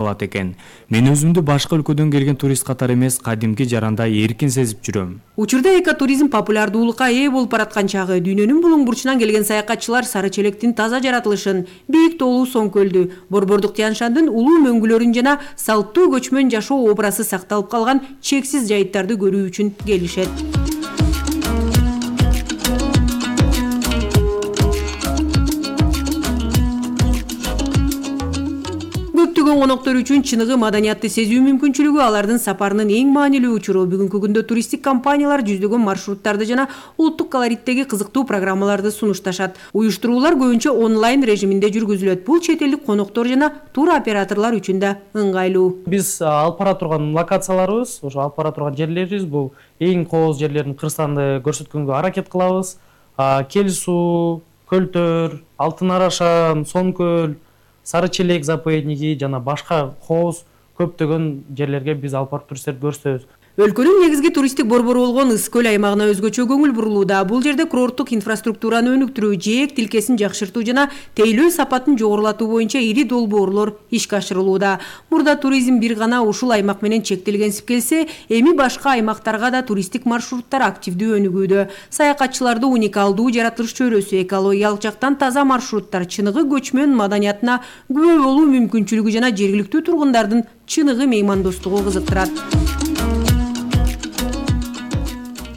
алат экен. Мен өзүмдү башка өлкөдөн келген турист катары эмес, кадимки жарандай эркин сезип жүрөм. Учурда экотуризм популярдуулукка ээ болуп бараткан чагы. Дүйнөнүн булуң бурчунан келген саякатчылар Сары Челектин таза жаратылышын, бийик тоолуу Соң көлдү, Борбордук Тянь-Шандын улуу мөңгүлөрүн жана салттуу көчмөн жашоо образы сакталып калган чексиз жайыттарды көрүү үчүн келишет. Көптөгөн коноктор үчүн чыныгы маданиятты сезүү мүмкүнчүлүгү алардын сапарынын эң маанилүү учуру. Бүгүнкү күндө туристтик компаниялар жүздөгөн маршруттарды жана улуттук колориттеги кызыктуу программаларды сунушташат. Уюштуруулар көбүнчө онлайн режиминде жүргүзүлөт. Бул чет элдик коноктор жана тур операторлор үчүн да ыңгайлуу. Биз алып бара турган локацияларыбыз, ошо алып бара турган жерлерибиз бул эң кооз жерлердин Кыргызстанды көрсөткөнгө аракет кылабыз. Кел суу, Көлтөр, Алтын Арашан, Соң көл, Сары Челек заповедниги жана башка кооз көптөгөн жерлерге биз алып барып туристтерди көрсөтөбүз. Өлкөнүн негизги туристтик борбору болгон Ыс көл аймагына өзгөчө көңүл бурулууда. Бул жерде курорттук инфраструктураны өнүктүрүү, жээк тилкесин жакшыртуу жана тейлөө сапатын жогорулатуу боюнча ири долбоорлор ишке ашырылууда. Мурда туризм бир гана ушул аймак менен чектелгенсип келсе, эми башка аймактарга да туристтик маршруттар активдүү өнүгүүдө. Саякатчыларды уникалдуу жаратылыш чөйрөсү, экологиялык жактан таза маршруттар, чыныгы көчмөн маданиятына күбө болуу мүмкүнчүлүгү жана жергиликтүү тургундардын чыныгы меймандостугу кызыктырат.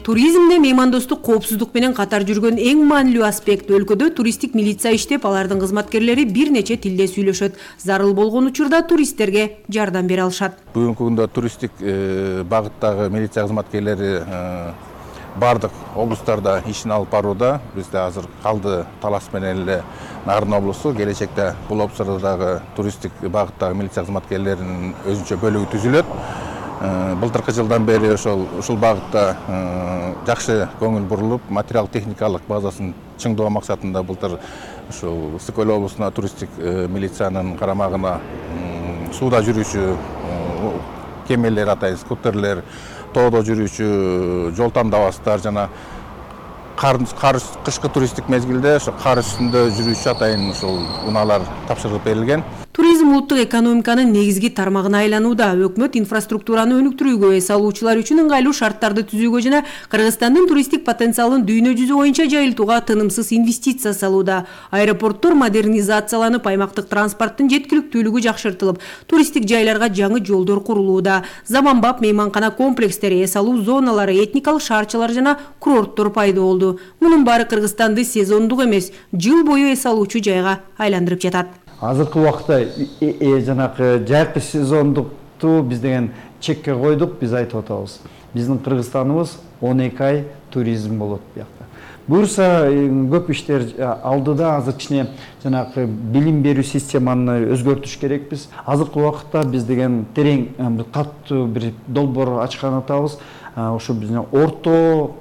Туризмде меймандостук коопсуздук менен катар жүргөн эң маанилүү аспект. Өлкөдө туристтик милиция иштеп, алардын кызматкерлери бир нече тилде сүйлөшөт. Зарыл болгон учурда туристтерге жардам бере алышат. Бүгүнкү күндө туристтик багыттагы милиция кызматкерлери бардык облустарда ишин алып барууда. Бизде азыр калды Талас менен эле Нарын облусу. Келечекте бул облустардагы туристтик багыттагы милиция кызматкерлеринин өзүнчө бөлүгү түзүлөт. Былтыркы жылдан бери ушул багытта жакшы көңүл бурулуп, материал техникалык базасын чыңдоо максатында былтыр ушул Ысык көл облусуна туристтик милициянын карамагына сууда жүрүүчү кемелер атайын, скутерлер, тоодо жүрүүчү жол тандабастар жана кышкы туристтик мезгилде ошо кар үстүндө жүрүүчү атайын ушул унаалар тапшырылып берилген. Туризм улуттук экономиканын негизги тармагына айланууда. Өкмөт инфраструктураны өнүктүрүүгө, эс алуучулар үчүн ыңгайлуу шарттарды түзүүгө жана Кыргызстандын туристтик потенциалын дүйнө жүзү боюнча жайылтууга тынымсыз инвестиция салууда. Аэропорттор модернизацияланып, аймактык транспорттун жеткиликтүүлүгү жакшыртылып, туристтик жайларга жаңы жолдор курулууда. Заманбап мейманкана комплекстери, эс алуу зоналары, этникалык шаарчалар жана курорттор пайда болду. Мунун баары Кыргызстанды сезондук эмес, жыл бою эс алуучу жайга айландырып жатат. Азыркы убакта жанакы жайкы сезондукту биз деген чекке койдук, биз айтып атабыз. Биздин Кыргызстаныбыз 12 ай туризм болот буякта. Буюрса көп иштер алдыда, азыр кичине жанакы билим берүү системаны өзгөртүш керекпиз. Азыркы убакытта биз деген терең катуу бир долбоор ачкан атабыз. Ошо биздин орто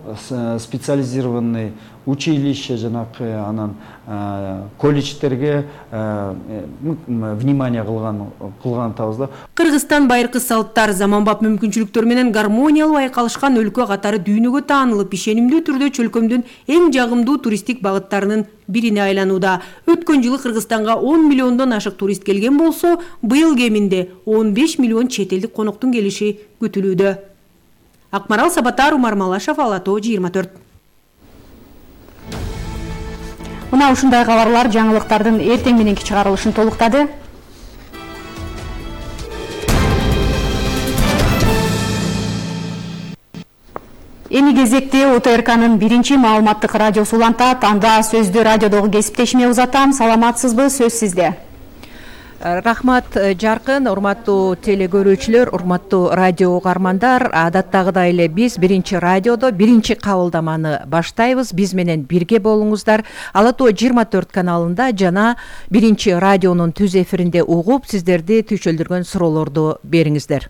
специализированный училище жанакы анан колледждерге внимание кылган атабыз да. Кыргызстан байыркы салттар, заманбап мүмкүнчүлүктөр менен гармониялуу айкалышкан өлкө катары дүйнөгө таанылып, ишенимдүү түрдө чөлкөмдүн эң жагымдуу туристтик багыттарынын бирине айланууда. Өткөн жылы Кыргызстанга 10 миллиондон ашык турист келген болсо, быйыл кеминде 15 миллион чет элдик коноктун келиши күтүлүүдө. Акмарал Сабатар, Умар Малашев, Ала Тоо 24. Мына ушундай кабарлар жаңылыктардын эртең мененки чыгарылышын толуктады. Эми кезекте УТРКнын биринчи маалыматтык радиосу улантат. Анда сөздү радиодогу кесиптешиме узатам. Саламатсызбы? Сөз сизде. Рахмат Жаркын, урматтуу телекөрүүчүлөр, урматтуу радио угармандар. Адаттагыдай эле биз биринчи радиодо биринчи кабылдаманы баштайбыз. Биз менен бирге болуңуздар. Ала Тоо 24 каналында жана биринчи радионун түз эфиринде угуп, сиздерди түйшөлдүргөн суроолорду бериңиздер.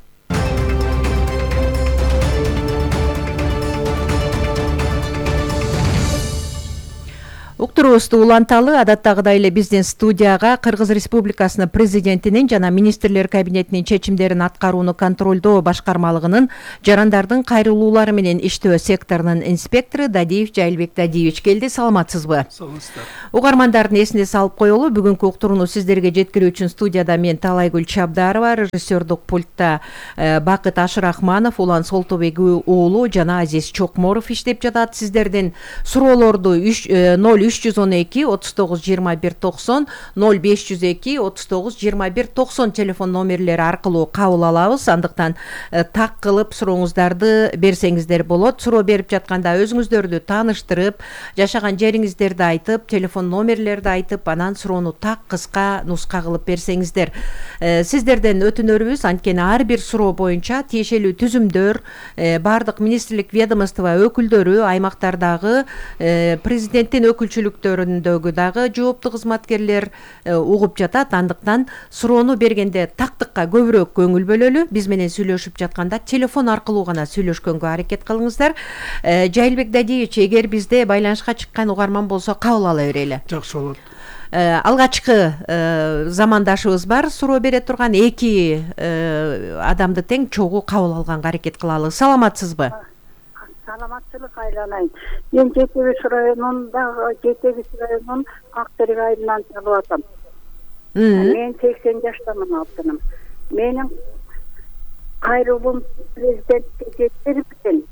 Отурубузду уланталы. Адаттагыдай эле биздин студияга Кыргыз Республикасынын президентинин жана министрлер кабинетинин чечимдерин аткарууну контролдоо башкармалыгынын жарандардын кайрылуулары менен иштөө секторунун инспектору Дадиев Жайылбек Дадиевич келди. Саламатсызбы? Саламатсыздар. Угармандардын эсине салып коелу, бүгүнкү уктурууну сиздерге жеткирүү үчүн студияда мен Талайгүл Чабдарова, режиссердук пультта Бакыт Ашырахманов, Улан Солтобек уулу жана Азиз Чокморов иштеп жатат. Сиздердин суроолорду 0312 39 21 90 0502 39 21 90 телефон номерлери аркылуу кабыл алабыз. Андыктан так кылып сурооңуздарды берсеңиздер болот. Суроо берип жатканда өзүңүздөрдү тааныштырып, жашаган жериңиздерди айтып, телефон номерлерди айтып, анан суроону так кыска нуска кылып берсеңиздер. Сиздерден өтүнөрүбүз, анткени ар бир суроо боюнча тиешелүү түзүмдөр бардык министрлик ведомство өкүлдөрү, аймактардагы президенттин өкүлчүлүктөрүндөгү дагы жооптуу кызматкерлер угуп жатат. Андыктан суроону бергенде тактыкка көбүрөөк көңүл бөлөлү. Биз менен сүйлөшүп жатканда телефон аркылуу гана сүйлөшкөнгө аракет кылыңыздар. Жайылбек Дадиевич, эгер бизде байланышка чыккан угарман болсо кабыл ала берели. Жакшы болот. Алгачкы замандашыбыз бар, суроо бере турган 2 адамды тең чогуу кабыл алганга аракет кылалы. Саламатсызбы? Саламатчылык айланайын. Мен Жетебиш районунун Актерек айылынан чалып атам. Мен 80 жаштамын алтыным. Менин кайрылуум президентке жеткирипкен.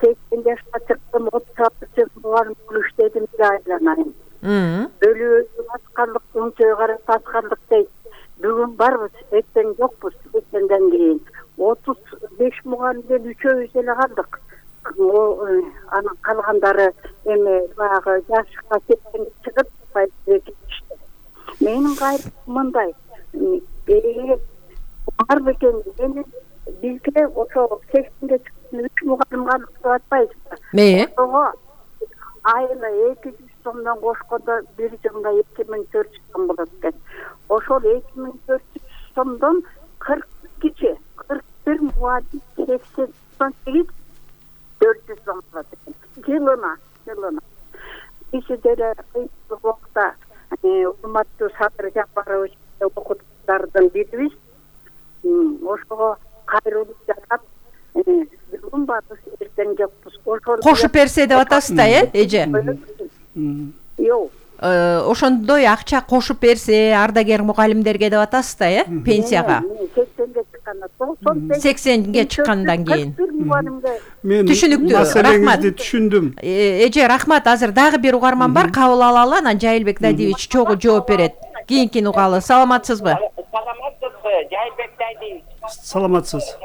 80 жашка чыктым, 36 жыл мугалим болуп иштедим деп айланайын. Өлүү аскарлык, өңчөй карап аскарлык дейт. Бүгүн барбыз, эртең жокпуз. Эртеңден кийин 35 мугалимден 3-өбүз эле калдык. Анан калгандары эми баягы жашка кеткенге чыгып кетишти. Менин кайрым мындай, бар бекен эми бизге ошо 80-ге чыккан 3 мугалим калдык деп атпайбызбы? Ошого айына 200 сомдон кошкондо бир жылда 2400 сом болот экен. Ошол 2400 сомдон 41 мугалим 88 400 сом болот экен. Жылына. Иши деле кыйынчылык убакта урматтуу Садыр Жапарович окутуучулардын бирибиз. Ошого кайрылып жатат. Бүгүн барбыз, эртең жокпуз. Кошуп берсе деп атасыз да, эже? Жок. Ошондой акча кошуп берсе ардагер мугалимдерге деп атасыз да, пенсияга? 80-ге чыккандан кийин. Мен түшүнүктүү, рахмат. Түшүндүм. Эже, рахмат. Азыр дагы бир угарман бар, кабыл алалы, анан Жайылбек Дадиевич чогуу жооп берет. Кийинкини угалы. Саламатсызбы? Саламатсызбы, Жайылбек Дадиевич? Саламатсыз.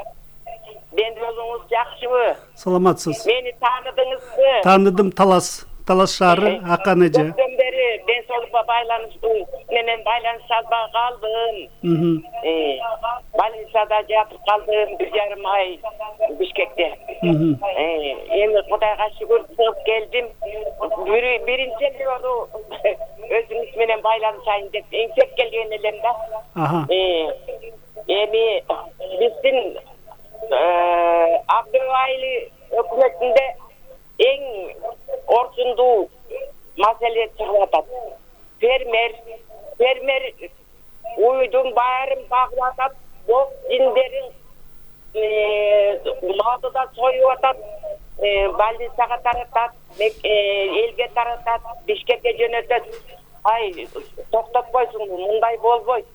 Мен өзүңүз жакшыбы? Саламатсыз. Мени тааныдыңызбы? Тааныдым, Талас шаары, Акан эже. Көптөн бери ден соолукка байланыштуу менен байланыша албай калдым. Больницада жатып калдым 1,5 ай Бишкекте. Эми Кудайга шүгүр чыгып келдим. Биринчи жолу өзүңүз менен байланышайын деп эңсеп келген элем да. Эми биздин Абдыбайли өкмөтүндө эң орчундуу маселе чыгып атат. Фермер уйдун баарын багып атат, бок жиндерин малды да союп атат, больницага таратат, элге таратат, Бишкекке жөнөтөт. Ай, токтотпойсуңбу, мындай болбойт.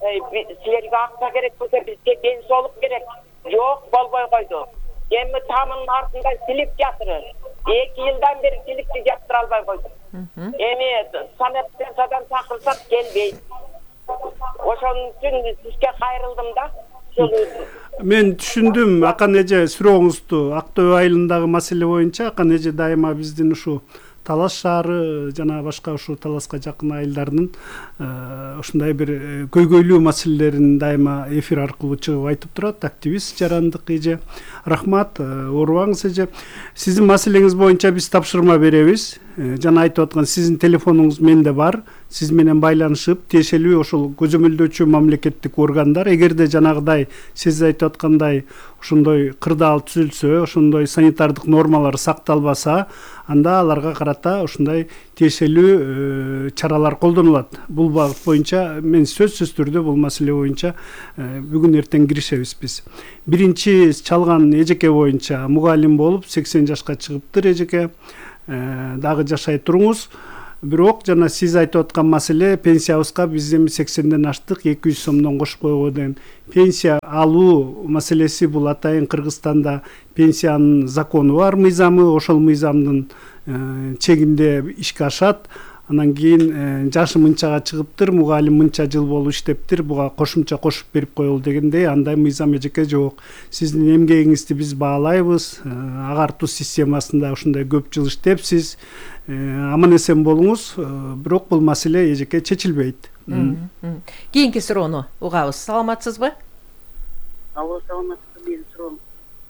Силерге акча керек болсо бизге ден соолук керек. Жок, болбой койду. Эми тамынын артында силип жатыр. 2 жылдан бери силипти жаптыра албай койду. Эми санаптан чакырсак келбейт. Ошон үчүн сизге кайрылдым да. Мен түшүндүм, Акан эже, сурооңузду. Актөө айылындагы маселе боюнча Акан эже дайыма биздин ушу Талас шаары жана башка ушу Таласка жакын айылдардын ушундай бир көйгөйлүү маселелерин дайыма эфир аркылуу чыгып айтып турат. Активист жарандык эже. Рахмат, оорубаңыз эже. Сиздин маселеңиз боюнча биз тапшырма беребиз. жана айтып аткан сиздин телефонуңуз менде бар. Сиз менен байланышып, тиешелүү ошол көзөмөлдөөчү мамлекеттик органдар эгерде жанагыдай сиз айтып аткандай ошондой кырдаал түзүлсө, ошондой санитардык нормалар сакталбаса, анда аларга карата ушундай тиешелүү чаралар колдонулат. Бул багыт боюнча мен сөзсүз түрдө бул маселе боюнча бүгүн эртең киришебиз биз. Биринчи чалган эжеке боюнча мугалим болуп 80 жашка чыгыптыр эжеке. Дагы жашай туруңуз. Бирок жана сиз айтып аткан маселе пенсиябызга биз эми 80ден аштык, 200 сомдон кошуп койгон деген пенсия алуу маселеси бул атайын Кыргызстанда пенсиянын закону бар, мыйзамы, ошол мыйзамдын чегинде ишке ашат. Анан кийин жашы мынчага чыгыптыр, мугалим мынча жыл болуп иштептир, буга кошумча кошуп берип коелу дегендей андай мыйзам эжеке жок. Сиздин эмгегиңизди биз баалайбыз. Агартуу системасында ушундай көп жыл иштепсиз. Аман эсен болуңуз, бирок бул маселе эжеке чечилбейт. Кийинки суроону угабыз. Саламатсызбы? Алло, саламатсызбы. Менин суроом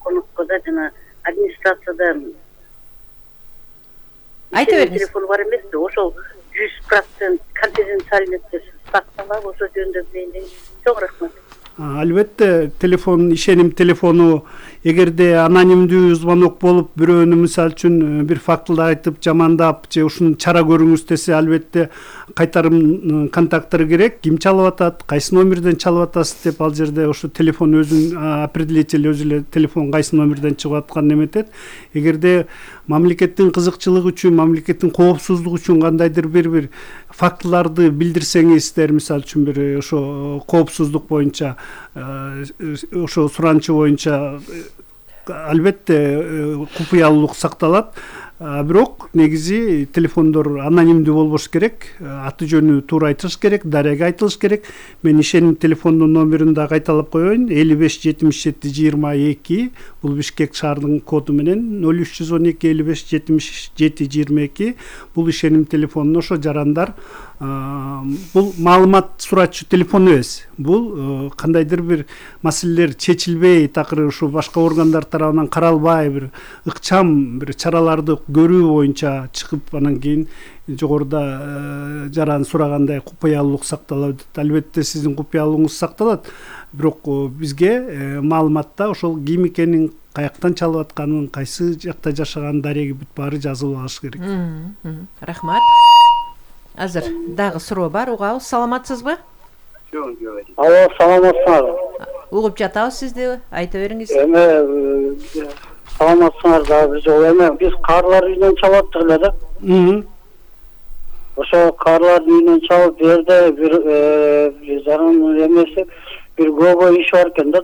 конокко да жана администрацияда айта бериңиз. Телефон бар эмеспи? Ошол 100% конфиденциальность сакталабы, ошол жөнүндө билейин. Чоң рахмат. Албетте, телефон, ишеним телефону эгерде анонимдүү звонок болуп, бирөөнү мисалы үчүн бир фактылды айтып, жамандап же ушуну чара көрүңүз десе, албетте кайтарым контакттары керек. Ким чалып атат, кайсы номерден чалып атасыз деп ал жерде ошо телефон өзүн определитель өзү эле телефон кайсы номерден чыгып атканын эметет. Эгерде мамлекеттин кызыкчылыгы үчүн, мамлекеттин коопсуздугу үчүн кандайдыр бир фактыларды билдирсеңиздер, мисалы үчүн бир ошо коопсуздук боюнча, ошо суранчы боюнча албетте купуялуулук сакталат. Бирок негизи телефондор анонимдүү болбош керек, аты жөнү туура айтылыш керек, дарега айтылыш керек. Мен ишеним телефондун номерин да кайталап коеюн: 55 77 22. Бул Бишкек шаарынын коду менен 0312 55 77 22. Бул ишеним телефону. Ошо жарандар бул маалымат сурачу телефон эмес. Бул кандайдыр бир маселелер чечилбей, такыр ушу башка органдар тарабынан каралбай, бир ыкчам бир чараларды көрүү боюнча чыгып, анан кийин жогоруда жаран сурагандай купуялуулук сакталат. Албетте сиздин купуялуулугуңуз сакталат. Бирок бизге маалыматта ошол ким экенин, каяктан чалып атканын, кайсы жакта жашаганын дареги бүт баары жазылып алыш керек. Рахмат. Азыр дагы суроо бар, угабыз. Саламатсызбы? Алло, саламатсыңарбы? Угуп жатабыз сизди, айта бериңиз. Саламатсыңар дагы жок. Биз карлар үйүнөн чалып аттык эле да. Ошо карлардын үйүнөн чалып берди, бир жарым эмеси, бир көбө иш бар экен да.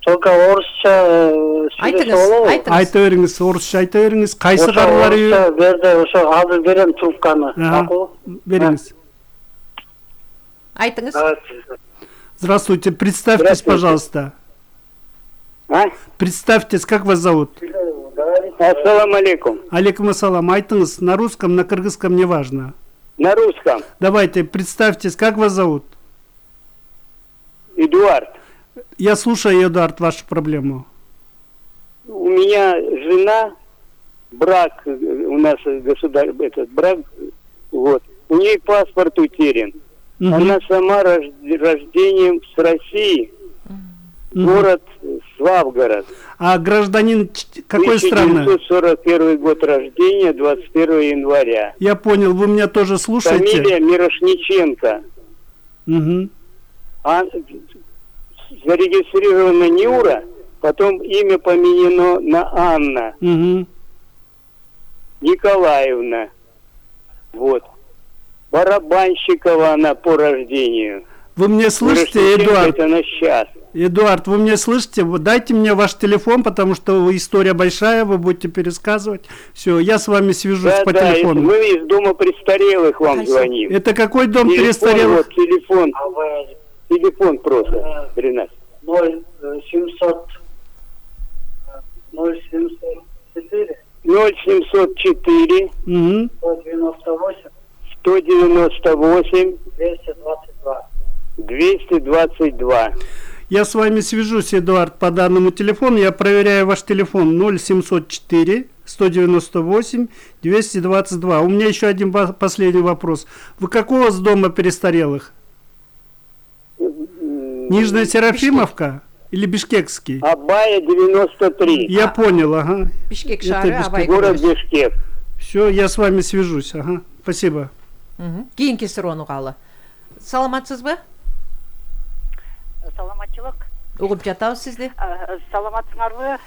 Только орусча айтыңыз. Айта бериңиз, орусча айта бериңиз. Кайсы карлар үйү? Орусча берди, ошо азыр берем трубканы. Бериңиз. Айтыңыз. Здравствуйте, представьтесь, пожалуйста. Представьтесь, как вас зовут? Ассаламу алейкум. Алейкум ассалам. Айтыңыз, на русском, на кыргызском, неважно. На русском. Давайте, представьтесь, как вас зовут? Эдуард. Я слушаю, Эдуард, вашу проблему. У меня жена, брак, у нас этот брак, вот, у нее паспорт утерян. Она сама рождением с России, город Славгород. А гражданин какой страны? 1941 год рождения, 21 января. Я понял, вы меня тоже слушаете? Фамилия Мирошниченко. Зарегистрирована Нюра, потом имя поменено на Анна Николаевна. Вот. Барабанщикова она по рождению. Вы меня слышите, Эдуард? Это на сейчас. Эдуард, вы меня слышите? Дайте мне ваш телефон, потому что история большая, вы будете пересказывать. Все, я с вами свяжусь по телефону. Мы из дома престарелых вам звоним. Это какой дом престарелых? Вот, телефон. Телефон просто, 13. 074 198 222. Я с вами свяжусь, Эдуард, по данному телефону. Я проверяю ваш телефон 0704 198 222. У меня еще один последний вопрос. Вы какого с дома престарелых? Нижняя Серафимовка или Бишкекский? Абая 93. Я понял, ага. Бишкек шары, Абай город Бишкек. Все, я с вами свяжусь, ага. Спасибо. Кийинки суроону угалы. Саламатсызбы? Саламатчылык. Угуп жатабыз сизди. Саламатсыңарбы?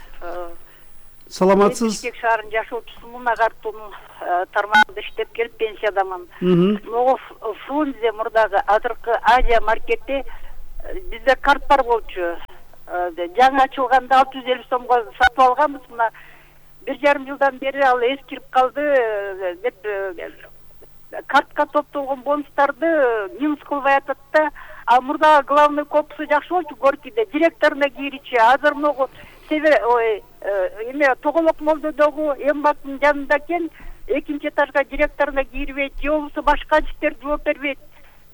Саламатсыз. Бишкек шаарынын жашоочусумун, агартуунун тармагында иштеп келип пенсиядамын. Могу Фрунзе мурдагы азыркы Азия маркетте бизде карт бар болчу. Жаңы ачылганда 650 сомго сатып алганбыз. Мына 1,5 жылдан бери ал эскирип калды деп картка топтолгон бонустарды минус кылбай атат да. А мурда главный корпусу жакшы болчу Горькийде, директоруна киричи. Азыр могу эме Тоголок молдодогу эмбаттын жанында экен, экинчи этажга директоруна кирбейт, же болбосо башка иштер жооп бербейт.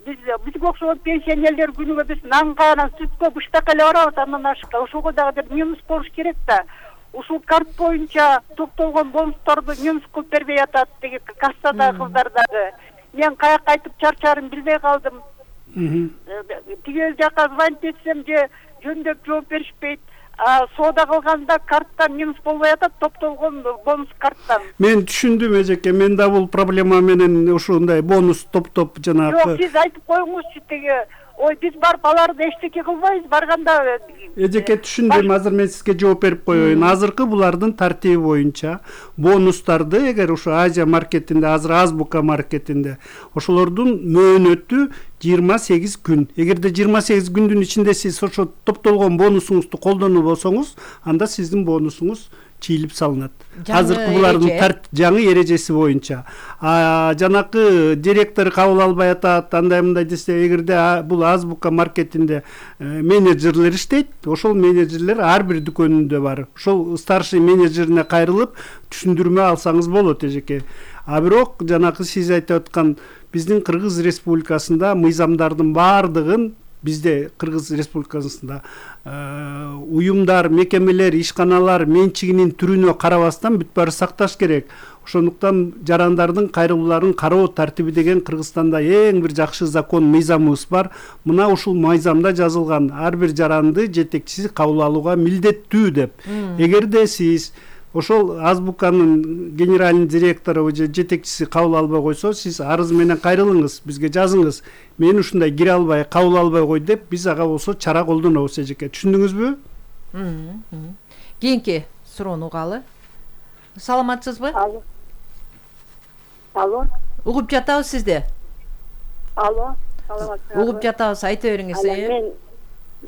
Бизге окшогон пенсионерлер күнүгө биз нанга, анан сүткө, быштакка эле барабыз, андан ашка. Ошого дагы минус болуш керек да. Ушул карт боюнча топтолгон бонустарды минус кылып бербей атат деги кассадагы кыздар дагы. Мен каяка кайтып чарчарын билбей калдым. Тигил жака звонить этсем же жөндөп жооп беришпейт. Соода кылганда карттан минус болбой атат, топтолгон бонус карттан. Мен түшүндүм эжеке, мен да бул проблема менен ушундай бонус топтоп жанагы. Жок, сиз айтып коюңузчу теги. Ой, биз барып аларды эчтеке кылбайбыз, барганда. Эжеке түшүндүм, азыр мен сизге жооп берип коеюн. Азыркы булардын тартиби боюнча бонустарды эгер ушу Азия маркетинде, азыр Азбука маркетинде ошолордун мөөнөтү 28 күн. Эгерде 28 күндүн ичинде сиз ошо топтолгон бонусуңузду колдонуп болсоңуз, анда сиздин бонусуңуз чийилип салынат. Азыркы булардын жаңы эрежеси боюнча. Жанакы директор кабыл албай атат, андай мындай десе, эгерде бул Азбука маркетинде менеджерлер иштейт, ошол менеджерлер ар бир дүкөнүндө бар. Ошол старший менеджерине кайрылып түшүндүрмө алсаңыз болот эжеке. А бирок жанакы сиз айтып аткан биздин Кыргыз Республикасында мыйзамдардын баардыгын бизде Кыргыз Республикасында уюмдар, мекемелер, ишканалар менчигинин түрүнө карабастан бүт баары сакташ керек. Ошондуктан жарандардын кайрылууларын кароо тартиби деген Кыргызстанда эң бир жакшы закон, мыйзамыбыз бар. Мына ушул мыйзамда жазылган ар бир жаранды жетекчиси кабыл алууга милдеттүү деп. Эгерде сиз ошол Азбуканын генеральный директору же жетекчиси кабыл албай койсо, сиз арыз менен кайрылыңыз, бизге жазыңыз. Мен ушундай кире албай, кабыл албай кой деп, биз ага болсо чара колдонобуз эжеке. Түшүндүңүзбү? Кийинки суроону угалы. Саламатсызбы? Алло. Угуп жатабыз сизди. Алло. Саламатсызбы? Угуп жатабыз, айта бериңиз. Мен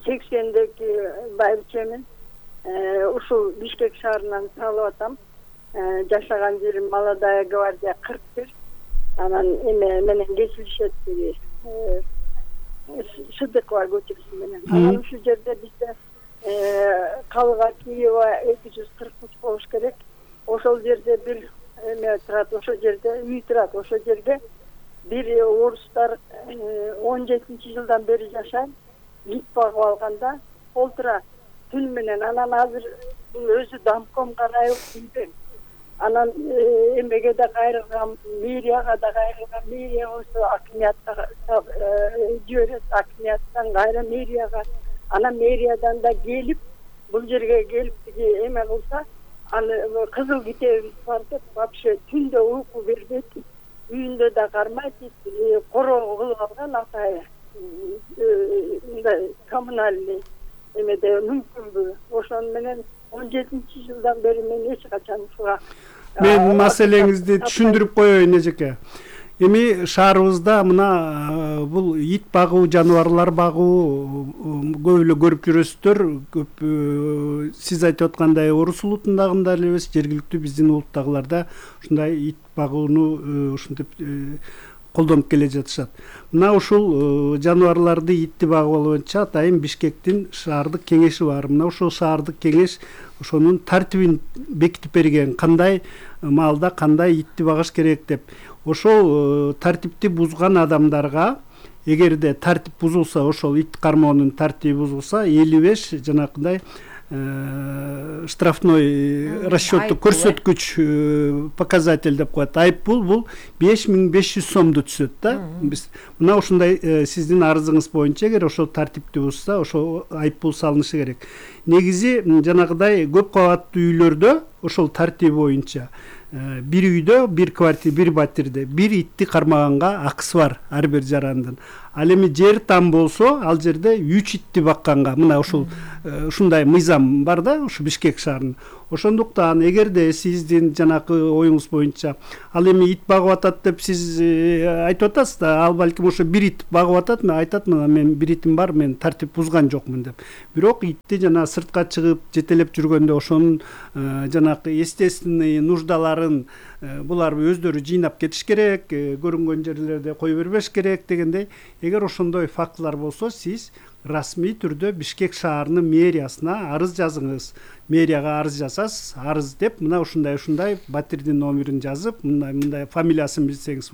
80-деги байбичемин. Ушул Бишкек шаарынан салып атам. Жашаган жерим Молодая гвардия 41. Анан эме менен кесилишет деги. Шыдыкова көчөсү менен. Анан ушул жерде бизде Калыга Киева 243 болуш керек. Ошол жерде бир эме турат, ошол жерде үй турат, ошол жерде бир орустар 17-жылдан бери жашайт. Ит багып алганда олтура түн менен, анан азыр өзү домком карайып үйдөн. Анан эмеге да кайрылган, мэрияга да кайрылган, мэрия болсо акимиятка жиберет, акимияттан кайра мэрияга, анан мэриядан да келип, бул жерге келип эме кылса, аны кызыл китебиз бар деп, вообще түндө уйку бербейт, үйүндө да кармайт, короо кылып алган атайы. Мындай коммунальный эмеде мүмкүнбү? Ошон менен 17-жылдан бери мен эч качан ушуга мен маселеңизди түшүндүрүп коеюн эжеке. Эми шаарыбызда мына бул ит багуу, жаныбарлар багуу көп эле көрүп жүрөсүздөр. Көп сиз айтып аткандай орус улутундагында эле эмес, жергиликтүү биздин улуттагыларда ушундай ит багууну ушинтип колдонуп келе жатышат. Мына ушул жаныбарларды, итти багуу боюнча атайын Бишкектин шаардык кеңеши бар. Мына ушул шаардык кеңеш ошонун тартибин бекитип берген, кандай маалда кандай итти багыш керек деп. Ошол тартипти бузган адамдарга, эгерде тартип бузулса, ошол ит кармоонун тартиби бузулса, 55 жанакындай штрафной расчетту көрсөткүч показатель деп коет. Айыппул бул 5500 сомду түшөт да. Биз мына ушундай сиздин арызыңыз боюнча эгер ошол тартипти бузса, ошол айыппул салынышы керек. Негизи жанагыдай көп кабаттуу үйлөрдө ошол тартип боюнча бир үйдө, бир квартира, бир батирде бир итти кармаганга акысы бар ар бир жарандын. Ал эми жер там болсо, ал жерде 3 итти бакканга мына ушундай мыйзам бар да, ушу Бишкек шаарынын. Ошондуктан эгерде сиздин жанакы оюңуз боюнча ал эми ит багып атат деп сиз айтып атасыз да, ал балким ошо бир ит багып атат, мен айтат, мына мен бир итим бар, мен тартип бузган жокмун деп. Бирок итти жана сыртка чыгып жетелеп жүргөндө ошонун жанакы естественный нуждаларын булар өздөрү жыйнап кетиш керек, көрүнгөн жерлерде кое бербеш керек дегендей. Эгер ошондой фактылар болсо, сиз расмий түрдө Бишкек шаарынын мэриясына арыз жазыңыз. Мэрияга арыз жасасыз, арыз деп мына ушундай батирдин номерин жазып, мындай фамилиясын билсеңиз,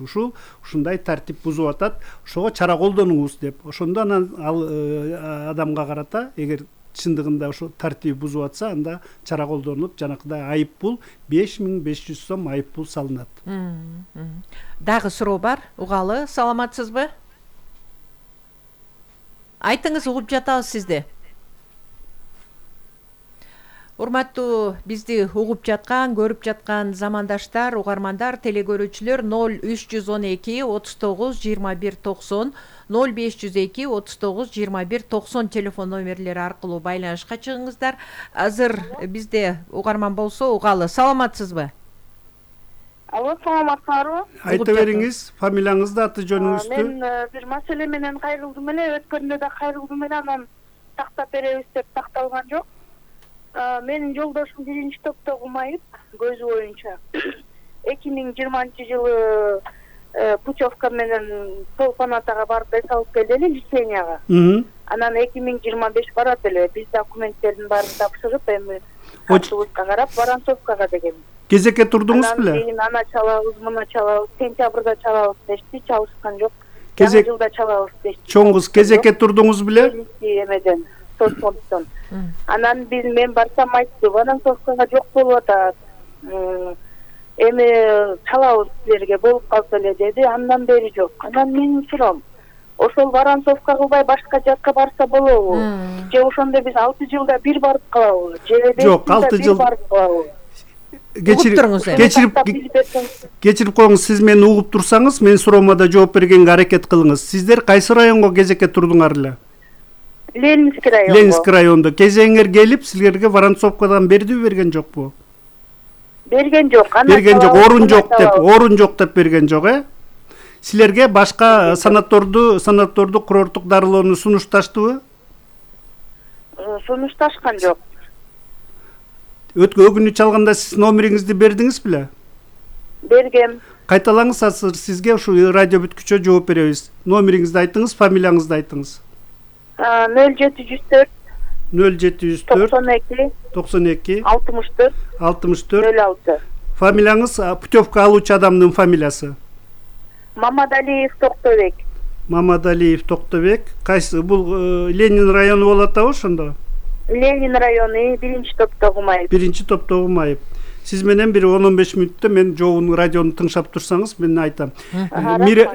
ушундай тартип бузуп атат, ошого чара колдонуңуз деп. Ошондо анан ал адамга карата эгер чындыгында ошо тартип бузуп атса, анда чара колдонуп, жанакыдай айыппул 5500 сом айыппул салынат. Дагы суроо бар, угалы, саламатсызбы? Айтыңыз, угуп жатабыз сизди. Урматтуу бизди угуп жаткан, көрүп жаткан замандаштар, угармандар, телегөрүүчүлөр 0312 39 21 90, 0502 39 21 90 телефон номерлери аркылуу байланышка чыгыңыздар. Азыр бизде угарман болсо, угалы, саламатсызбы? Алло, саламатсызбы? Айта бериңиз, фамилияңызды, аты жөнүңүздү. Мен бир маселе менен кайрылдым эле, өткөндө да кайрылдым эле, анан тактап беребиз деп такталган жок. Менин жолдошум 1-топто окумайт, көзү боюнча 2020-жылы путевка менен Толпанатага барып эс алып келди эле лицензияга. Анан 2025 барат эле. Биз документтердин баарын тапшырып, эми отпускка карап Воронцовкага деген. Кезекке турдуңуз беле? Анан ана чалабыз, мына чалабыз, сентябрда чалабыз дешти, чалышкан жок. Жаңы жылда чалабыз дешти. Чоңуз кезекке турдуңуз беле? Эмеден, соцфонддон. Анан мен барсам айтты, Воронцовкага жок болуп атат. Эми чалабыз силерге болуп калса эле деди, андан бери жок. Анан менин суроом, ошол Воронцовка кылбай башка жакка барса болобу? Же ошондо биз 6 жылда бир барып калабы? Же 5 жылда бир барып калабы? Кечирип коюңуз, сиз мени угуп турсаңыз, менин суроома да жооп бергенге аракет кылыңыз. Сиздер кайсы районго кезекке турдуңар эле? Ленинский районго. Ленинский райондо. Кезеңер келип, силерге Воронцовкадан бердиби, берген жокпу? Берген жок. Берген жок, орун жок деп берген жок, Силерге башка санаторду курорттук дарылоону сунушташтыбы? Сунушташкан жок. Өткөн чалганда сиз номериңизди бердиңиз беле? Бергем. Кайталаңыз, азыр сизге ушу радио бүткүчө жооп беребиз. Номериңизди айтыңыз, фамилияңызды айтыңыз. 0704 0704 92 64 06. Фамилияңыз путевка алуучу адамдын фамилиясы? Мамадалиев Токтобек. Мамадалиев Токтобек. Кайсы бул Ленин району болот да ошондо? Ленин району 1-топто окумайт. 1-топто окумайт. Сиз менен бир 10-15 мүнөттө мен жообун радиону тыңшап турсаңыз, мен айтам.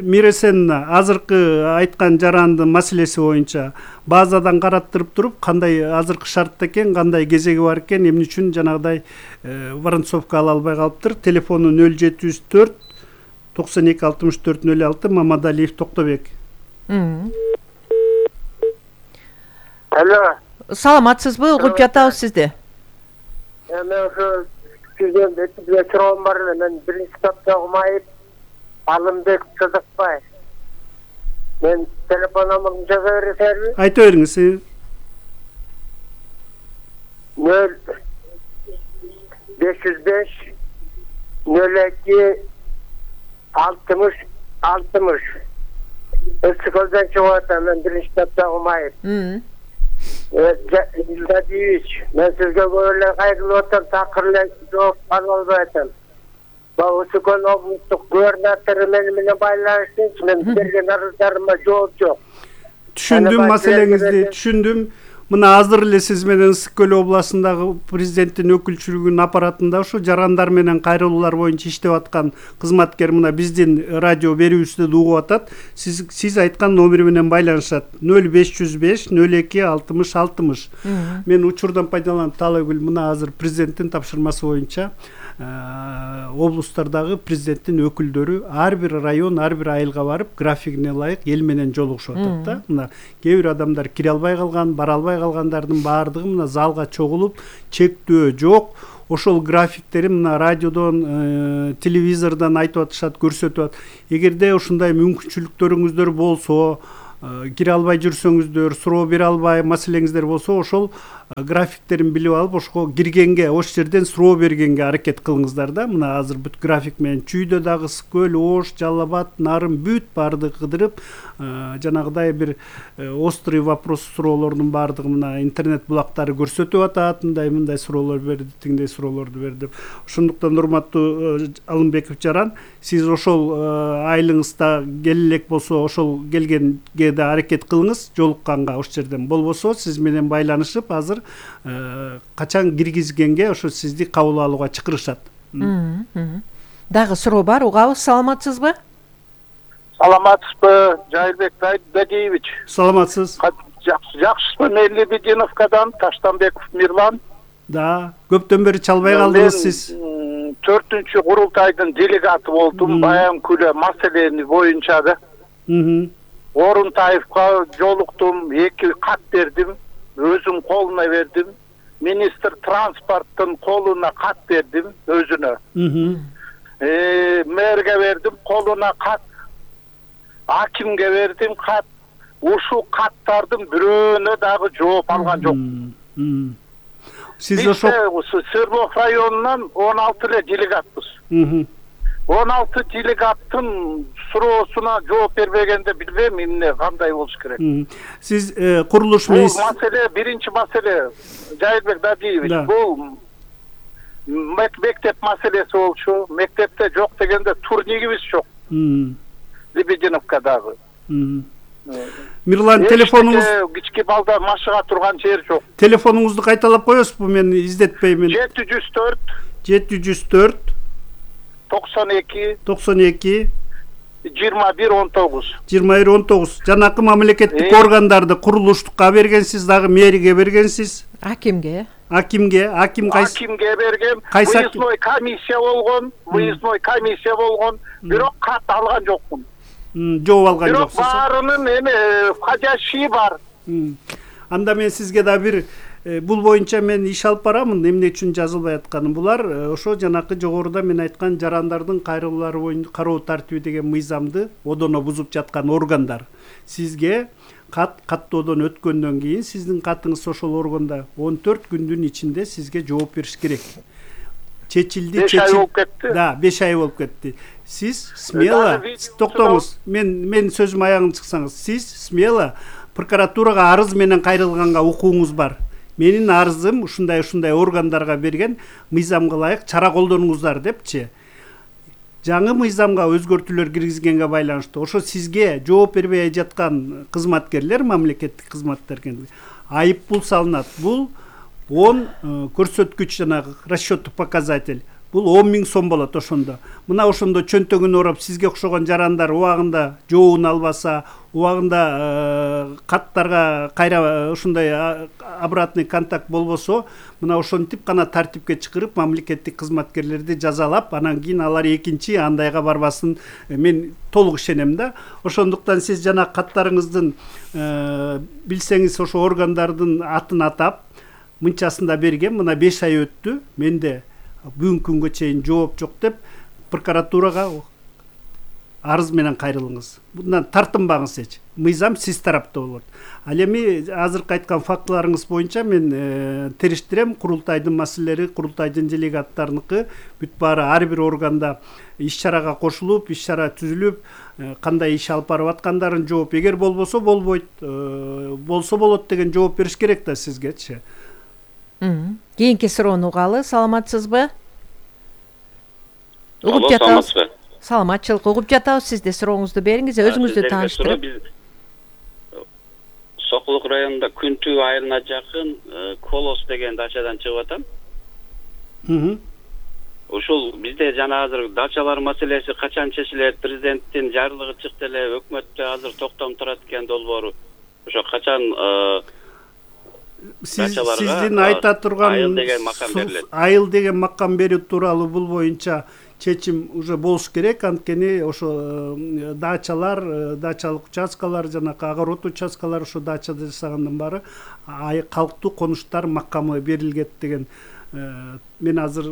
Миресенна азыркы айткан жарандын маселеси боюнча базадан караттырып туруп, кандай азыркы шартта экен, кандай кезеги бар экен, эмне үчүн жанагыдай Воронцовка ала албай калыптыр. Телефону 0704 92 64 06, Мамадалиев Токтобек. Алло. Саламатсызбы, угуп жатабыз сизди. Мен ошо сизден бизге суроом бар эле. Мен 1-топто окумайт, Алымбек Сыдыкбай. Мен телефон номерин жаза бересизби? Айта бериңиз. 0505 02 60 60. Ысыкөлдөн чыгып атам, мен 1-топто окумайт. Жадиевич, мен сизге көп эле кайрылып атам, такыр эле жооп ала албай атам. Ысыкөл облустук губернатору менен байланыштыңыз, мен берген арыздарыма жооп жок. Түшүндүм, маселеңизди түшүндүм. мына азыр эле сиз менен Ысык Көл областындагы президенттин өкүлчүлүгүнүн аппаратында ушу жарандар менен кайрылуулар боюнча иштеп аткан кызматкер мына биздин радио берүүбүздү да угуп атат. Сиз айткан номер менен байланышат 0505 02 60 60. Мен учурдан пайдаланып Таалайгүл мына азыр президенттин тапшырмасы боюнча облустардагы президенттин өкүлдөрү ар бир район, ар бир айылга барып, графигине ылайык эл менен жолугушуп атат да. Мына кээ бир адамдар кире албай калган, бара албай калгандардын баардыгы мына залга чогулуп, чектөө жок. Ошол графиктери мына радиодон, телевизордон айтып атышат, көрсөтүп атат. Эгерде ушундай мүмкүнчүлүктөрүңүздөр болсо, кире албай жүрсөңүздөр, суроо бере албай маселеңиздер болсо, ошол графиктерин билип алып, ошого киргенге, ош жерден суроо бергенге аракет кылыңыздар да. Мына азыр бүт график менен Чүйдө дагы Ысык Көл, Ош, Жалал Абад, Нарын бүт баардыгы кыдырып, жанагыдай бир острый вопрос суроолордун баардыгы мына интернет булактары көрсөтүп атат. Мындай суроолор берди, тигиндей суроолорду берди деп. Ошондуктан урматтуу Алымбеков Жаран, сиз ошол айылыңызда келе элек болсо, ошол келгенге да аракет кылыңыз жолукканга ош жерден. Болбосо сиз менен байланышып, азыр качан киргизгенге ошо сизди кабыл алууга чакырышат. Дагы суроо бар, угабыз. Саламатсызбы? Саламатсызбы, Жайылбек Бадиевич? Саламатсыз. Жакшысызбы? Мен Лебединовкадан Таштанбеков Мирлан. Да, көптөн бери чалбай калдыңыз сиз. 4-чү курултайдын делегаты болдум, баян күлө маселени боюнча да. Орунтаевка жолуктум, 2 кат бердим, өзүм колуна бердим. Министр транспорттун колуна кат бердим, өзүнө. Мэрге бердим, колуна кат. Акимге бердим кат. Ушу каттардын бирөөнө дагы жооп алган жок. Сиз ошол Свердлов районунан 16 эле делегатпыз. 16 делегаттын суроосуна жооп бербегенде билбейм эмне кандай болуш керек. Сиз курулуш министр. Бул маселе, биринчи маселе, Жайылбек Дадиевич, бул мектеп маселеси болчу. Мектепте жок дегенде турнигибиз жок. Лебединовкадагы. Мирлан, телефонуңуз кички балдар машыга турган жер жок. Телефонуңузду кайталап коесузбу? Мен издетпеймин. 704 92 2119. Жанакы мамлекеттик органдарды курулуштукка бергенсиз, дагы мэрге бергенсиз. Акимге Акимге бергем. Выездной комиссия болгон, бирок кат алган жокмун. Жооп алган жоксуз. Бирок баарынын входящий бар. Анда мен сизге да бир бул боюнча мен иш алып барамын. Эмне үчүн жазылбай атканы? Булар ошо жанакы жогоруда мен айткан жарандардын кайрылуулары боюнча кароо тартиби деген мыйзамды одоно бузуп жаткан органдар. Сизге каттоодон өткөндөн кийин сиздин катыңыз ошол органда 14 күндүн ичинде сизге жооп бериш керек. Чечилди, 5 ай болуп кетти. Да, 5 ай болуп кетти. Сиз смело, токтоңуз. Мен сөзүм аягын чыксаңыз, сиз смело прокуратурага арыз менен кайрылганга укугуңуз бар. Менин арызым ушундай органдарга берген, мыйзамга ылайык чара колдонуңуздар депчи. Жаңы мыйзамга өзгөртүүлөр киргизгенге байланыштуу ошо сизге жооп бербей жаткан кызматкерлер, мамлекеттик кызматкерлер айып пул салынат. Бул 10 көрсөткүч жанагы расчёттук показатель. Бул 10 000 сом болот ошондо. Мына ошондо чөнтөгүн ороп сизге окшогон жарандар убагында жообун албаса, убагында каттарга кайра ушундай обратный контакт болбосо, мына ошентип гана тартипке чыгарып мамлекеттик кызматкерлерди жазалап, анан кийин алар экинчи андайга барбасын мен толук ишенем да. Ошондуктан сиз жана каттарыңыздын билсеңиз ошо органдардын атын атап, мынчасында берген, мына 5 ай өттү, менде бүгүнкү күнгө чейин жооп жок деп прокуратурага арыз менен кайрылыңыз. Bundan тартынбаңыз эч. Мыйзам сиз тарапта болот. Ал эми азыркы айткан фактыларыңыз боюнча мен териштирем, курултайдын маселелери, курултайдын делегаттарыныкы бүт баары ар бир органда иш-чарага кошулуп, иш-чара түзүлүп, кандай иш алып барып аткандарын жооп, эгер болбосо болбойт, болсо болот деген жооп бериш керек да сизгечи. Кийинки суроону угалы. Саламатсызбы? Угуп жатабыз. Саламатчылык, угуп жатабыз. Сиз да сурооңузду бериңиз, өзүңүздү тааныштырып. Сокулук районунда Күнтүү айылына жакын Колос деген дачадан чыгып атам. Ушул бизде жана азыр дачалар маселеси качан чечилет? Президенттин жарлыгы чыкты эле, өкмөттө азыр токтом турат экен долбоору. Ошо качан сиздин айта турган айыл деген макам берүү тууралуу бул боюнча чечим уже болуш керек. Анткени ошо дачалар, дачалык участкалар, жанакы огород участкалар ошо дача жасагандан баары калктуу конуштар макамы берилгет деген. Мен азыр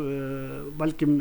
балким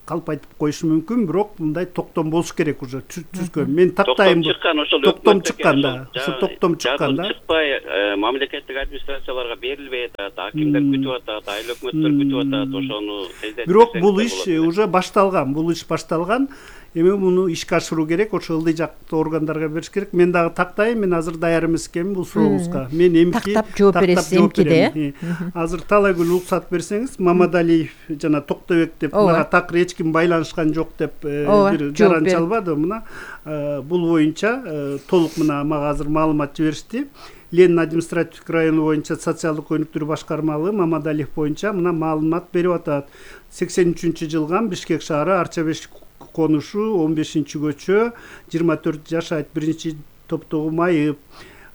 калп айтып коюшум мүмкүн, бирок мындай токтом болуш керек уже түзгөн. Мен тактайм. Токтом чыккан да. Ошо токтом чыккан да. Чыкпай мамлекеттик администрацияларга берилбей атат, акимдер күтүп атат, айыл өкмөттөр күтүп атат, ошону тездетип. Бирок бул иш уже башталган. Бул иш башталган. Эми муну ишке ашыруу керек, ошо ылдый жактуу органдарга бериш керек. Мен дагы тактайм, мен азыр даяр эмес экенмин бул сурооңузга. Мен эмки тактап жооп бересиз эмкиде. Азыр Талайгүл уруксат берсеңиз, Мамадалиев жана Токтобек деп мага такыр эч ким байланышкан жок деп бир жаран чалбады. Мына бул боюнча толук мына мага азыр маалымат жиберишти. Ленин административдик району боюнча социалдык өнүктүрүү башкармалыгы Мамадалиев боюнча мына маалымат берип атат. 83-жылга Бишкек шаары Арчабеш конушу 15-көчө 24 жашайт 1-топтогу майып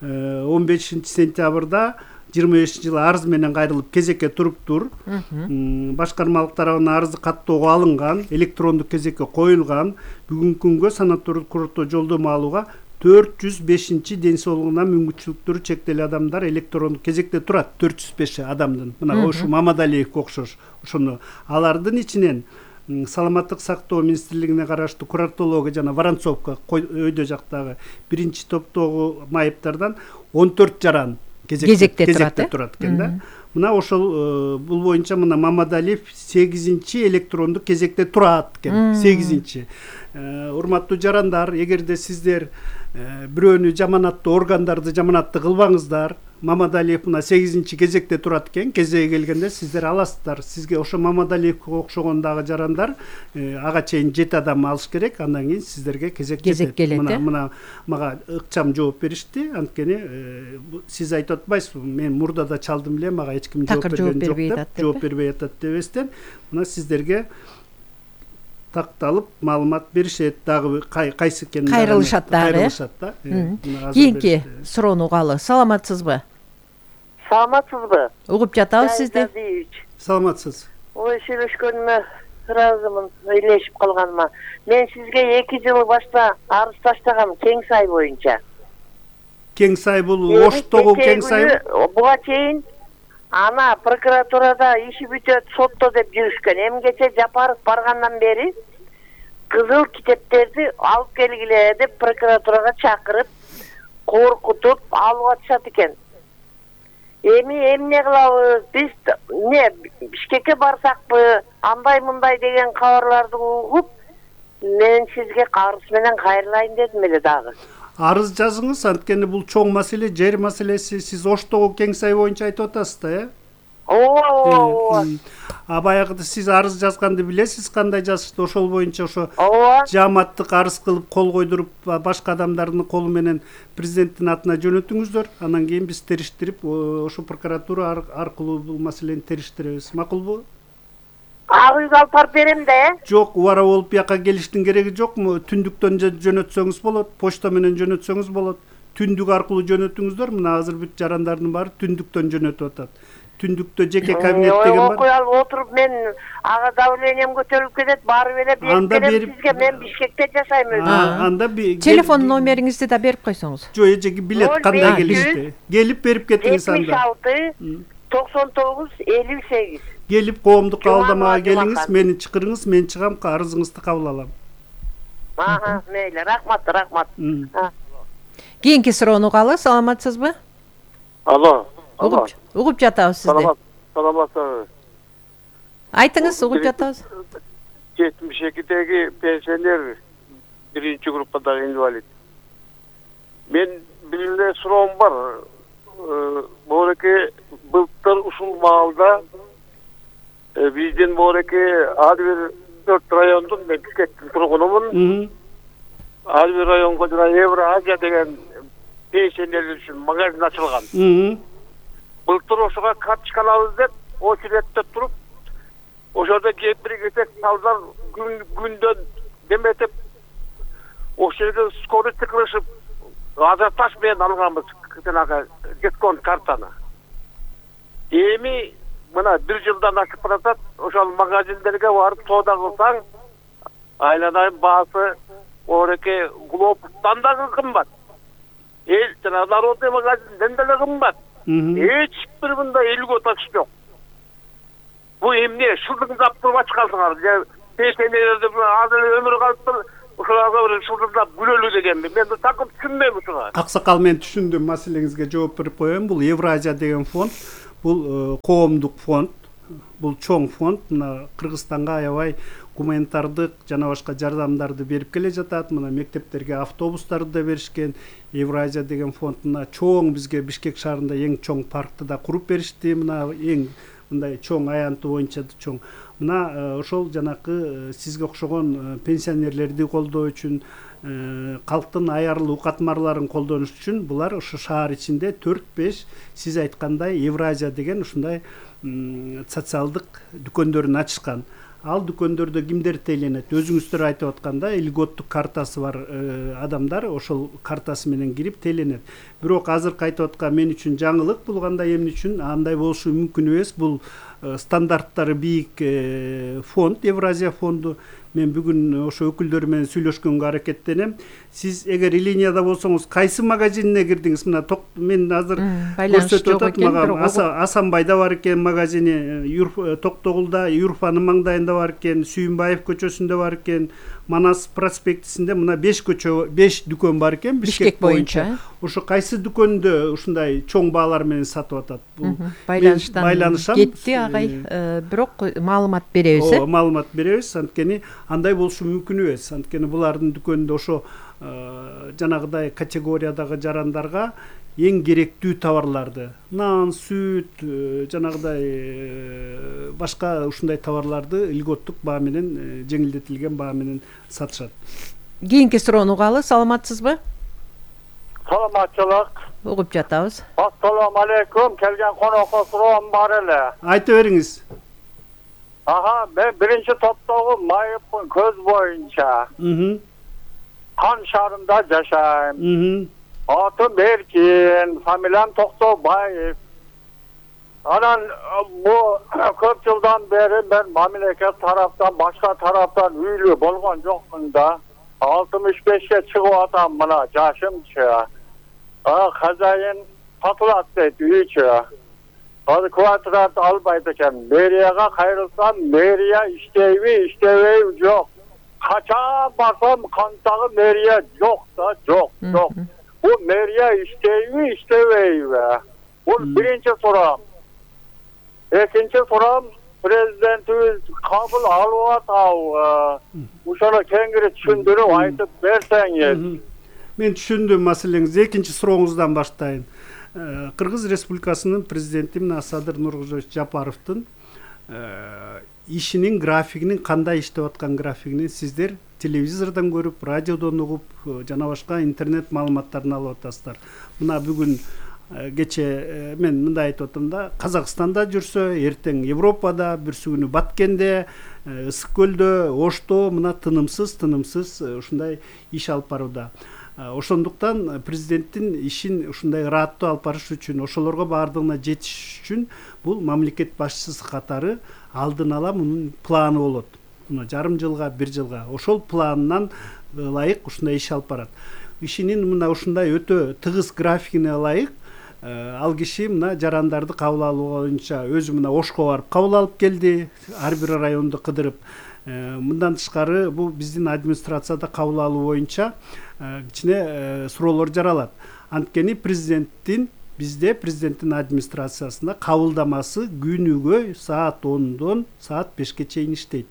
15-сентябрда 25-жылы арыз менен кайрылып кезекке туруптур. Башкармалык тарабынан арызы каттоого алынган, электрондук кезекке коюлган. Бүгүнкү күнгө санатордук курорто жолдомо алууга 405 ден соолугуна мүмкүнчүлүктөрү чектелүү адамдар электрондук кезекте турат. 405 адамдын. Мына ошо Мамадалиевке окшош. Ошону алардын ичинен Саламаттык сактоо министрлигине караштуу Курортология жана Воронцовка өйдө жактагы 1-топтогу майыптардан 14 жаран кезекте турат экен да. Мына ошол бул боюнча мына Мамадалиев 8-чи электрондук кезекте турат экен. 8-чи. Урматтуу жарандар, эгерде сиздер бирөөнү жаманаттуу органдарды жаманатты кылбаңыздар. Мамадалиев мына 8-чи кезекте турат экен. Кезеги келгенде сиздер аласыздар. Сизге ошо Мамадалиевке окшогон дагы жарандар ага чейин 7 адам алыш керек. Андан кийин сиздерге кезек келет. Мына мага ыкчам жооп беришти. Анткени сиз айтып атпайсызбы? Мен мурда да чалдым эле, мага эч ким жооп берген жок деп, жооп бербей атат дебестен, мына сиздерге такталып маалымат беришет, дагы кайсы экенин кайрылышат да. Кийинки суроону угалы. Саламатсызбы? Саламатсызбы? Угуп жатабыз сизди. Саламатсыз. Ой, сүйлөшкөнүмө ыраазымын, ыйлешип калганыма. Мен сизге 2 жыл башта арыз таштагам Кең Сай боюнча. Кең Сай бул Оштогу Кең Сай. Буга чейин ана прокуратурада иши бүтөт, сотто деп жүрүшкөн. Эмгече Жапаров баргандан бери кызыл китептерди алып келгиле деп прокуратурага чакырып, коркутуп алып атышат экен. Эми эмне кылабыз? Биз Бишкекке барсакпы, андай мындай деген кабарларды угуп, мен сизге арыз менен кайрылайын дедим эле дагы. Арыз жазыңыз, анткени бул чоң маселе, жер маселеси. Сиз Оштогу Кең Сай боюнча айтып атасыз да, Ооба. Баягыда сиз арыз жазганды билесиз, кандай жазышты? Ошол боюнча ошо жааматтык арыз кылып кол койдуруп, башка адамдардын колу менен президенттин атына жөнөтүңүздөр. Анан кийин биз териштирип, ошо прокуратура аркылуу бул маселени териштиребиз. Макулбу? Ак үйгө алып барып берем да, Жок, убара болуп бияка келиштин кереги жокму? Түндүктөн жөнөтсөңүз болот, почта менен жөнөтсөңүз болот. Түндүк аркылуу жөнөтүңүздөр. Мына азыр бүт жарандардын баары түндүктөн жөнөтүп атат. Түндүктө жеке кабинет деген бар. Окуй алып отуруп мен ага давлением көтөрүлүп кетет, барып эле берип сизге. Мен Бишкекте жашайм өзүм. Анда телефон номериңизди да берип койсоңуз. Жок, эжеги билет кандай келишти. Келип берип кетиңиз анда. 76 99 58. Келип коомдук кабылдамага келиңиз, мени чакырыңыз, мен чыгам, арызыңызды кабыл алам. Мейли, рахмат. Кийинки суроону угалы. Саламатсызбы? Алло. Угуп жатабыз сизди. Саламатсызбы? Айтыңыз, угуп жатабыз. 72-деги пенсионер 1-чи группадагы инвалид. Мен бир эле суроом бар. Бореке былтыр ушул маалда биздин Бореке ар бир 4 райондун, мен Бишкектин тургунумун. Ар бир районго жана Евразия деген пенсионерлер үчүн магазин ачылган. Былтыр ошого карточка алабыз деп очередте туруп, ошодо кемпир-кесек салдар күндөн деметип, ошол жерде скорый кылышып, ажиотаж менен алганбыз жанагы дисконт картаны. Эми мына 1 жылдан ашып баратат, ошол магазиндерге барып соода кылсаң, айланайын баасы ореке глобустан да кымбат. Жана народный магазинден деле кымбат. Эч бир мындай льгота жок. Бу эмне? Шылдыңдап туруп ачкансыңар. Пенсионерлерди азыр өмүрү калыптыр. Ошолорго бир шылдыңдап күлөлү дегенби. Мен такым түшүнбөйм ушуга. Аксакал, мен түшүндүм, маселеңизге жооп берип коеюн. Бул Евразия деген фонд, бул коомдук фонд, бул чоң фонд. Мына Кыргызстанга аябай гуманитардык жана башка жардамдарды берип келе жатат. Мына мектептерге автобустарды да беришкен. Евразия деген фонд мына чоң, бизге Бишкек шаарында эң чоң паркты да куруп беришти. Мына эң мындай чоң аянты боюнча чоң. Мына ошол жанакы сизге окшогон пенсионерлерди колдоо үчүн, калктын аярлуу катмарларын колдонуш үчүн булар ошо шаар ичинде 4-5 сиз айткандай Евразия деген ушундай социалдык дүкөндөрүн ачышкан. Ал дүкөндөрдө кимдер тейлөнөт? Өзүңүздөр айтып атканда, льготтук картасы бар адамдар ошол картасы менен кирип тейлөнөт. Бирок азыркы айтып аткан мен үчүн жаңылык, бул кандай эмне үчүн андай болушу мүмкүн эмес. Бул стандарттары бийик фонд, Евразия фонду. Мен бүгүн ошо өкүлдөр менен сүйлөшкөнгө аракеттенем. Сиз эгер линияда болсоңуз, кайсы магазинине кирдиңиз? Мына мен азыр көрсөтүп атат мага. Асанбайда бар экен магазини, Токтогулда, Юрфанын маңдайында бар экен, Сүйүнбаев көчөсүндө бар экен, Манас проспектисинде мына 5 көчө, 5 дүкөн бар экен Бишкек боюнча. Ошо кайсы дүкөндө ушундай чоң баалар менен сатып атат? Бул байланыштан кетти агай. Бирок маалымат беребиз. Маалымат беребиз. Анткени андай болушу мүмкүн эмес. Анткени булардын дүкөнүндө ошо жанагыдай категориядагы жарандарга эң керектүү товарларды, нан, сүт, жанагыдай башка ушундай товарларды льготтук баа менен, жеңилдетилген баа менен сатышат. Кийинки суроону угалы, саламатсызбы? Саламатчылык. Угуп жатабыз. Ассаламу алейкум. Келген конокко суроом бар эле. Айта бериңиз. Мен биринчи топтогу Майыптын көз боюнча Кан шаарында жашайм. Атым Эркин, фамилиям Токтобаев. Анан бу көп жылдан бери мен мамлекет тараптан, башка тараптан үйлүү болгон жокмун да. 65-ке чыгып атам мына жашымчы. Хозяин сатылат дейт үйчү. Азыр квартираны албайт экен. Мэрияга кайрылсам, мэрия иштейби, иштебейби жок. Качан барсам кантагы мэрия жок да, жок. Бул мэрия иштейби, иштебейби? Бул биринчи суроом. Экинчи суроом, президентибиз кабыл алып атабы? Ошону кеңири түшүндүрүп айтып берсеңиз. Мен түшүндүм маселеңизди. Экинчи сурооңуздан баштайын. Кыргыз Республикасынын президенти Садыр Нуркожоевич Жапаровдун ишинин графигинин, кандай иштеп аткан графигинин сиздер телевизордон көрүп, радиодон угуп, жана башка интернет маалыматтарын алып атасыздар. Мына бүгүн кече мен мындай айтып атам да, Казакстанда жүрсө, эртең Европада, бүрсү күнү Баткенде, Ысык көлдө, Ошто мына тынымсыз ушундай иш алып барууда. Ошондуктан президенттин ишин ушундай ырааттуу алып барыш үчүн, ошолорго баардыгына жетиш үчүн бул мамлекет башчысы катары алдын ала мунун планы болот. Мына жарым жылга, 1 жылга ошол планынан ылайык ушундай иш алып барат. Ишинин мына ушундай өтө тыгыз графигине ылайык ал киши мына жарандарды кабыл алуу боюнча өзү мына Ошко барып кабыл алып келди, ар бир районду кыдырып. Мындан тышкары бул биздин администрацияда кабыл алуу боюнча кичине суроолор жаралат. Анткени бизде президенттин администрациясында кабылдамасы күнүгө саат 10дон саат 5ке чейин иштейт.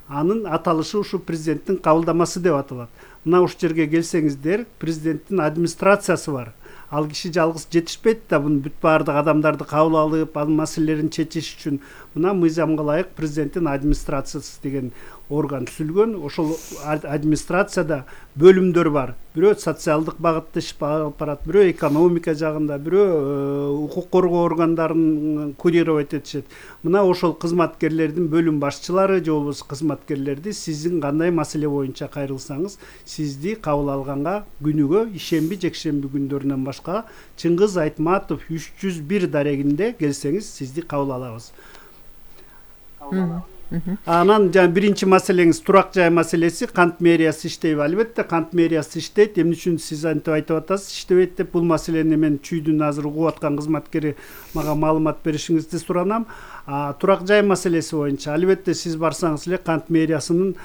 Анын аталышы ушу президенттин кабылдамасы деп аталат. Мына ушул жерге келсеңиздер, президенттин администрациясы бар. ал киши жалгыз жетишпейт да, буну бүт баардык адамдарды кабыл алып, анын маселелерин чечиш үчүн мына мыйзамга ылайык президенттин администрациясы деген орган түзүлгөн. Ошол администрацияда бөлүмдөр бар. Бирөө социалдык багытта иш алып барат, бирөө экономика жагында, бирөө укук коргоо органдарын курировать этишет. Мына ошол кызматкерлердин бөлүм башчылары же болбосо кызматкерлерди сиздин кандай маселе боюнча кайрылсаңыз, сизди кабыл алганга күнүгө ишемби, жекшемби күндөрүнөн башка Чыңгыз Айтматов 301 дарегинде келсеңиз, сизди кабыл алабыз. Анан жана биринчи маселеңиз турак жай маселеси, кант мэриясы иштейби? Албетте кант мэриясы иштейт. Эмне үчүн сиз антип айтып атасыз, иштебейт деп? Бул маселени мен чүйдүн азыр угуп аткан кызматкери мага маалымат беришиңизди суранам. Турак жай маселеси боюнча албетте сиз барсаңыз эле кант мэриясынын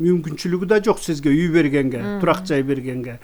мүмкүнчүлүгү да жок сизге үй бергенге, турак жай бергенге.